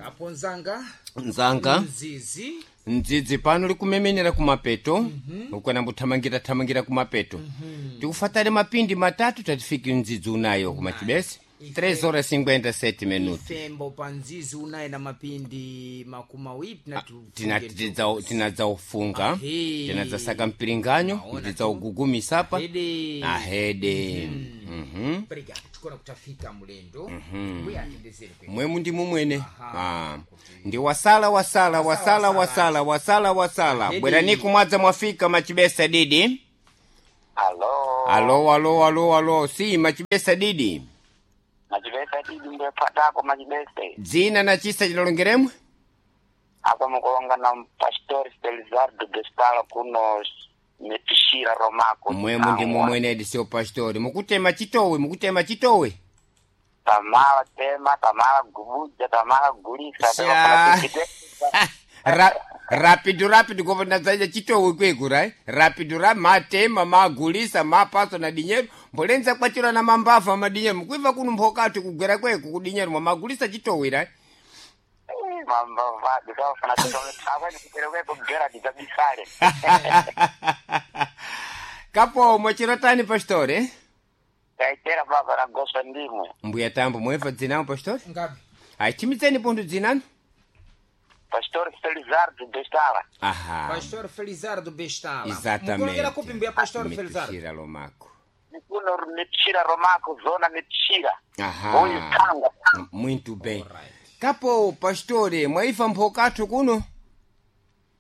Kapo nzanga Nzanga. Mzizi. Mdzidzi pano likumemenera kumapeto, ukwena mbuthamangira thamangira kumapeto. Tikufatale mapindi matatu tatifiki mdzidzi unayo kumachibesi. 3 horas 57 minutos. Ifembo pa mzizi unayi na mapindi makumi awiri. Tinadzaufunga. Ahe. Tinadzasaka mpiringanyo. Naona. Ndidzaugugumisa apa. Ahede. Ahede. Mhm. Obrigado, tikona kutafika mulendo mbuya atendezere kwe. Mwemu ndi mumwene. Ah. Ndi wasala wasala wasala wasala wasala wasala. Ahedi. Bwerani kumwadza mwafika machibesa didi. Alo. Alo alo alo alo, si machibesa didi. Machibese didi ndepatako machibese. Dzina na chisa chilolongeremwe. Apa mukulonga na Pastor Felizardo Bestala kuno Metishira Romako. Mwemu ndi mumwene edi sio pastori. Mukutema chitowe, mukutema chitowe. Tamala tema, tamala gubuja, tamala gulisa. Sha. Rapido rapido kopa nadzaja chitowe kweku right? Rapido ra matema magulisa mapaso na dinyeru mbolenza kwachira na mambava madinyeru mukuiva kuno mphokatu kugwera kweku kudinyeru mwamagulisa chitowe right? Mambavadu kafana kutometsakwani kupereke kugera dizabisale. Kapo mwachirotani pastore? Taitera baba na gosa ndimwe. Mbuya tambo mweva dzinamo pastore? Ngapi? Achimidzeni pundu dzinanu? Pastor Felizardo Bestala. Aha. Pastor Felizardo Bestala. Exatamente. Mukulongera kupi mbuya Pastor Felizardo? Metishira Lomako. Kuno Metishira Romako, zona Metishira. Aha. Uyu Tanga. Muito bem. Alright. Kapo pastore mwaifa mphokathu kuno?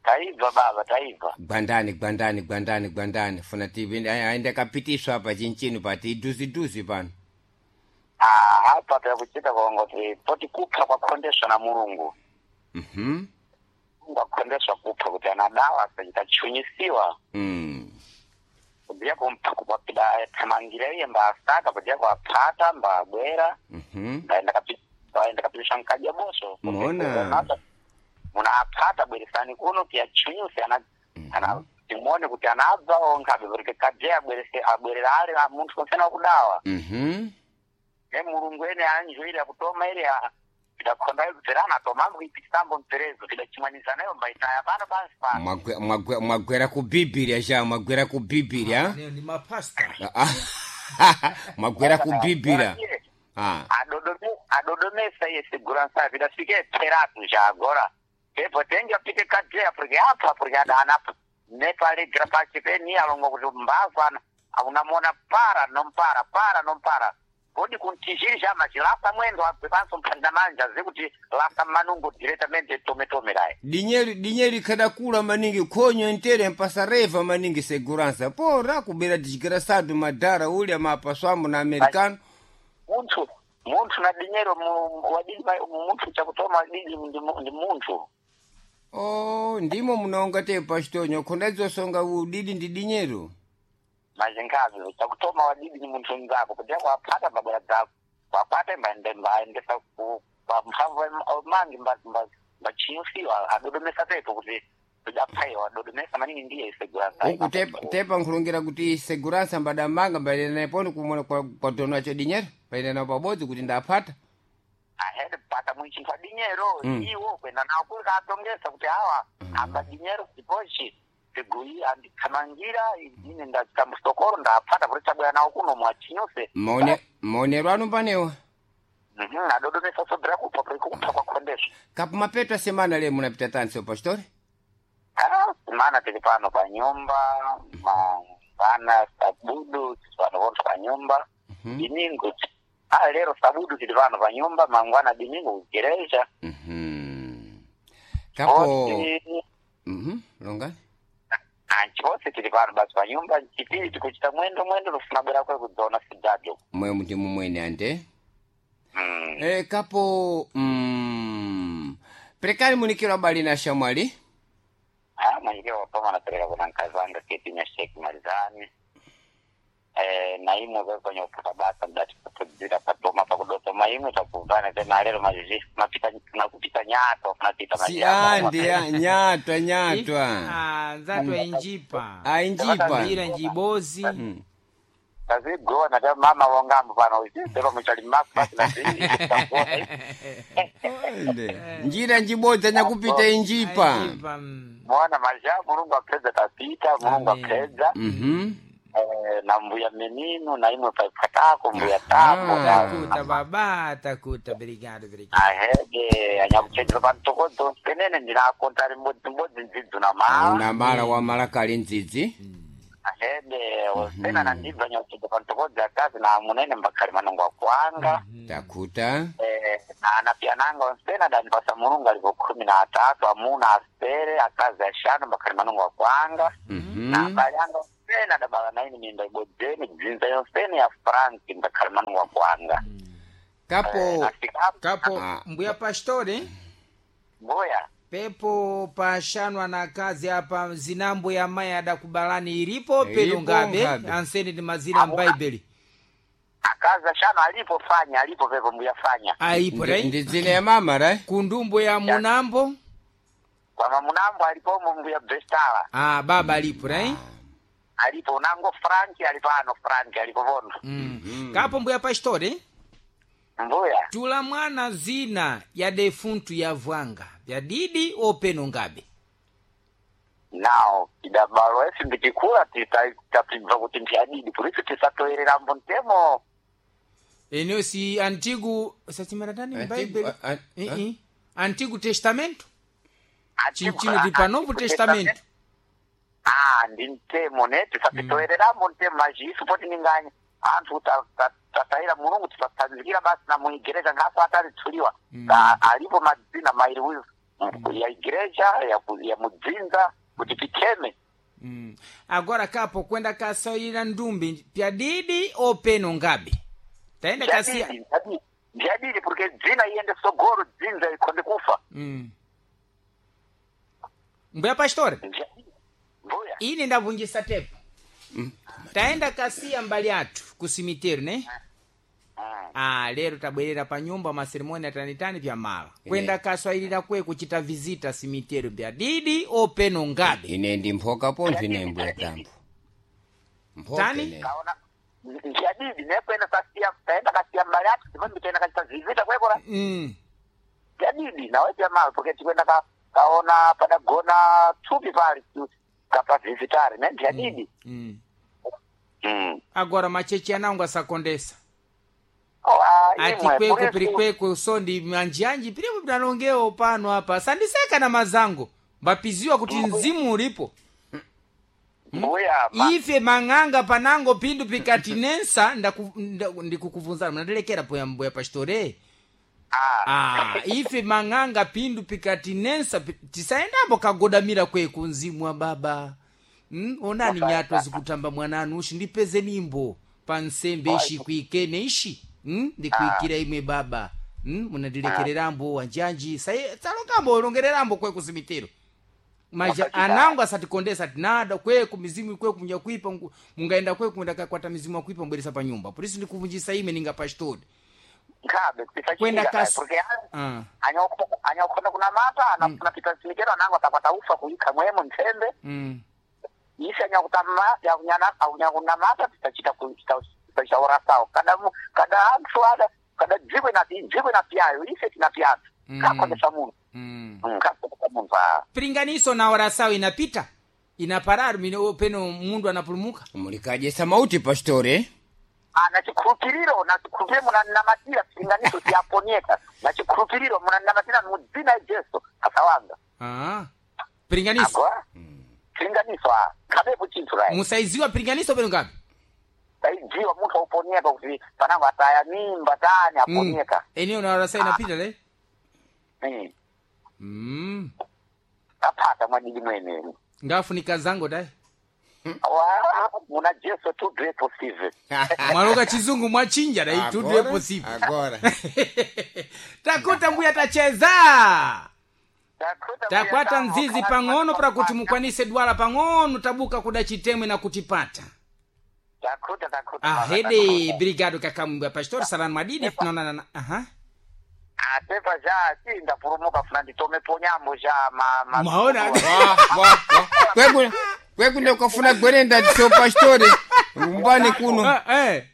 Taibva baba, taibva. Gwandani gwandani gwandani gwandani funa tivi aende kapitiswa apa chinchino pati iduziduzi pano. Ah, apa takuchita kongoti poti kupha kwakhondeswa na Mulungu. Mhm. Mulungu akhondeswa kupha kuti anadawa sachitachunyisiwa. Mm. Kudiya kumpha kupapida thamangira iye mbasaka kudiya kuaphata mbabwera. Mhm. Ndaenda kapi ndaenda kapitisha nkaja boso. Mona. Muna aphata bweresani kuno tiyachunyuse ana ana timuone kuti anabva onkabe porque kadye abwerese abwerera ale a munthu konsena wakudawa. Mhm. Ne Mulungu ene anjoire akutoma ile tidakhonda bverana tomangu ipitisambo mperezo tidachimwanisa nayo mbaitaya pano pansi pano. Mwagwera ku Biblia ja mwagwera ku Biblia. Neo ndi mapasta. Ah. Mwagwera ku Biblia. Ah. Adodomesa iye segurança vidafike peratu já agora pepo tenge apite kadeya porque apa porque adana nepalegra pachipeni alongo kuti mbava ana unamona para nompara para nompara kodi kuntijiri já machilasa mwendo abwe panso mphanda manja zikuti lasa manungo diretamente tometome laye. Dinyeri dinyeri kadakula maningi khonyo ntere mpasareva maningi segurança pora kubera desgraçado madhara ulya mapaswamo na americano. Munthu munthu na dinyero wadidi munthu chakutoma wadidi ndi munthu. Oh, ndimo munaonga te pastor khonda dzosonga udidi ndi dinyero. Mazingazi chakutoma wadidi ni munthu mzako kuti kwaphata mabwera dzako kwaphata mbaendesa pa mphamvu mangi mbachiusiwa adodomesa pepo kuti tidaphaiwa adodomesa maningi ndiye segurança. Uku tepa, tepa nkhulungira kuti segurança mbadamanga mbaenda poni kumona kwa, kwa dono acho dinyero mbaenda nawo pabodzi kuti ndaphata. Ahede pata mwinchinthu adinyero. Iwo kwenda nawo kuli katongesa kuti awa amba dinyero kutipochi tiguyi andikhamangira ine ndachita musokoro ndaphata kuti chabwera nawo kuno mwachinyuse. Maone maonero anu panewa. Adodomesa sobera kupha kuti kupha kwakhondeswa. Kapo mapeto a semana le munapita tani seu pastor? Ah, mana tili pano pa nyumba mangwana sabudu tili pano vonse pa nyumba. Dimingo ah, lero sabudu tili pano pa nyumba mangwana dimingo kugereja. Kapo longani. Anchose tili pano basi pa nyumba chipili tikuchita mwendo mwendo tufuna bwera kwe kudzona sijajo. Mwemu ndi mumwene ande. Kapo perekani munikiro abali na shamwali. Ah, mwenyekero wapama napereka kuna mkazi wanga keti nyasheki malizani na imwe kwenye kupata basa mdati kudzira patoma pakudotoma imwe takuvana tena lero mazhi mapita nakupita nyato napita Si andi ya, nyatwa nyatwa. Ah, nzatwa injipa. Ainjipa. Ira njibozi. Tazigona ta mama wangambo pano sero muchali maku basi na Ende. Njira njibodza nyakupita injipa. Aijipa, mm. mwana maja Mulungu apedza tapita Mulungu Amen. apedza Mhm. Na mbuya menino na imwe paipatako mbuya tambo Ah. Takuta baba, takuta, obrigado, obrigado. Ahege anyakuchenjera pantokodzo penene ndinakonta ri mbodzi mbodzi ndzidzo na mala Una mala wa mala kali ndzidzi. Ahege osena na ndibva anyakuchenjera pantokodzi akazi na munene mbakhali manongo akwanga. Takuta. Na anapiananga onsena danipasa Mulungu alipo 13 amuna asere akazi ashanu mbakhali manongo akwanga. Na Mhm. abale anga onsena dabala naini minda ibodzeni dzinza yonsene ya Frank mbakhali manongo akwanga. Kapo. Nafika Kapo Ah. mbuya pastore mbuya pepo pashanwa na kazi apa zinambo ya mai adakubalani ilipo peno Ilipo ngabe ngabe. anseni ndi mazina m'Bhaibheli akazi ashanu alipo fanya alipo pepo mbuya fanya aipo Ndi right ndi dzina ya mama right? kundumbo ya munambo kwa mamunambo alipomo mbuya Bestala ah baba alipo right alipo unango Frank alipo ano Frank alipo vono. mm. Kapo mbuya pastore Mbuya tula mwana zina ya defuntu ya vwanga vya didi openo ngabe nao idabalo esi ndichikula tapibva kuti ndiyadidi purisu tisatoererambo ntemo. Eno si antigo sachimaratani Antigo- m'Bhaibheli a- eh eh Antigo Testamento Antigo- chinchino ti pa Novo Antigo Testamento. Ah, ndi mtemo ne tisapitoererambo ntemo majisu poti ninganya anthu tataira Mulungu tisatsanzikira basi na muigereja ngapo atalitsuliwa. Alipo madzina mairi uyu ya igereja ya mudzinza kuti titeme. Mm. Agora kapo kwenda kasaira ndumbi pya didi openo ngabe taenda kasia Ndiyadidi, ndiyadidi. Ndiyadidi porque dzina iyende sogoro dzinza ikhonde kufa. mm. Mbuya pastore Ndiyadidi. Mbuya ine ndavunjisa tepo taenda kasiya mbali athu ku simiteri ne ah lero tabwerera pa nyumba maseremoni atanitani pya mala kwenda kaswailira kwe kuchita visita simiteri pya didi openo ngabe Ine ndi mphoka pontho ine mbuya tambo. Mphoka Tani? ine. kaona ndiyadidi nekwenda kasiya taenda kasiya mbali athu tipambi taenda kachita zivita kwekora. mm. Ndiyadidi nawe pyamalo porque tikwenda kaona padagona thupi pali kapavhizitari ne ndiyadidi. Mm. Mm. Agora machechi anangu asakondesa Oh, ah, ati imwe, kwekwe purisu- piri kwekwe so ndi manjianji piripo pinalongewo pano apa sandiseka na mazango mbapiziwa kuti mzimu ulipo. Mbuya Ife mang'anga panango pindu pikatinensa ndikukuvunzana mnatelekera poya mbuya pastore. Ah. Ah, ife mang'anga pindu pikatinensa tisaendambo kagodamira kweku mzimu wa baba. Onani nyato zikutamba mwananu ushi ndipeze nimbo pa nsembe ishi kuikene ishi ndikuikira imwe baba. Munadilekererambo wanjanji salongambo olongererambo kweku zimitero maja anangu asatikondesa tinada kweku mizimu kweku munyakuipa mungaenda kweku mundakakwata mizimu akuipa mbweresa pa nyumba polisi ndikuvunjisa ime ninga pastori Nkhabe kwenda tisachitika kasi porque ah. anyakukhona kunamata anafuna pita simikero anango atakwata ufa kuikha mwemo ntsembe. Isi anyakunamata tisachita tisachaora sawo kada kada anthu ada kada dziko dziko inapyayo ise tinapyathu kakhondesa munthu. Kakhondesa munthu ah. Piringaniso na orasawo inapita inaparari mino peno mundu anapulumuka. Mulikadyesa mauti pastore. Ah, na chikhulupiriro na chikhulupiriro munanamatira piringaniso siyaponyeka na chikhulupiriro munanamatira mu dzina ya Jesu asawanga. Ah. Piringaniso Agora piringaniso ah khabepo chinthu rayi musaiziwa piringaniso peno ngapi taidziwa munthu auponyeka kuti panango ataya mimba tani aponyeka. Eneo na orasawo inapita le. Mm. Mm. Aphata mwadidi mwene Ngafunika zango dai Wa, muna Jesu tudo é possível. Mwaloka chizungu mwachinja dai tudo é possível. Agora. Takuta mbuya tacheza takwata nzizi pang'ono pra kuti mukwanise dwala pang'ono tabuka kuda chitemwe na kutipata. Takuta takuta. Ahede brigado kakamwe pastor salani madidi tunaonana na aha. Atepa ja si ndapulumuka funa nditome ponyambo ja ma Mwaona? Wa wa wa. Kweku kweku ndokafuna gwerenda so pastore. Rumbani kuno. Ah, eh.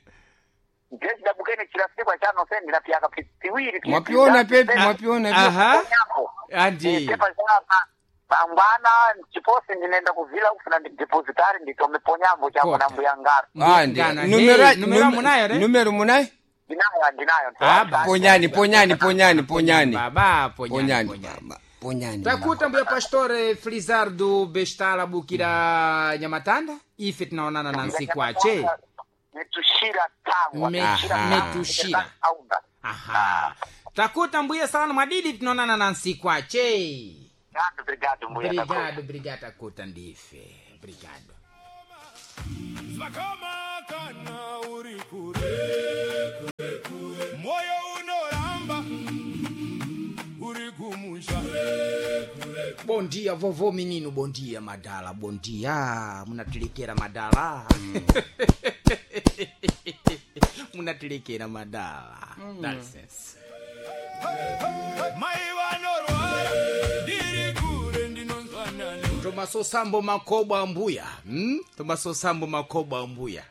Ndiye chidabukene chilasikwa chano se ndinapyaka piwiri. Mwapiona pepi, mwapiona pepi. Aha. Nyambo. Andi. Pepa chapa pangwana chiposi ndinenda kuvila kufuna ndidepositari nditome ponyambo chako Kota. na mbuya ngaro. Ah, ndi. Ngana, Numero hey, numero munayo, ne? Numero munayo? Ndinayo ndinayo. Ah, ba. Ponyani, ponyani, ponyani, ponyani. Baba, ponyani, Ponyani. ponyani. Baba, Ponyani. Takuta mbuya pastore Felizardo Bestala Bukira Nyamatanda ife tunaonana na nsiku ache. Metushira tangwa. Aha. Metushira. Aunda. Aha. Takuta mbuya sana mwadidi tunaonana na nsiku ache. Obrigado, mbuya. Obrigado, obrigado takuta ndife. Obrigado. Zvakama kana uri kure moyo unoramba uri kumusha. Bom dia vovô menino, bom dia madala, bom dia. Munatilikira madala. Munatilikira madala. Dá licença. Mai vanorwara ndiri kure ndinonzwanana. Tomaso sambo makobo ambuya. Tomaso sambo makobo ambuya.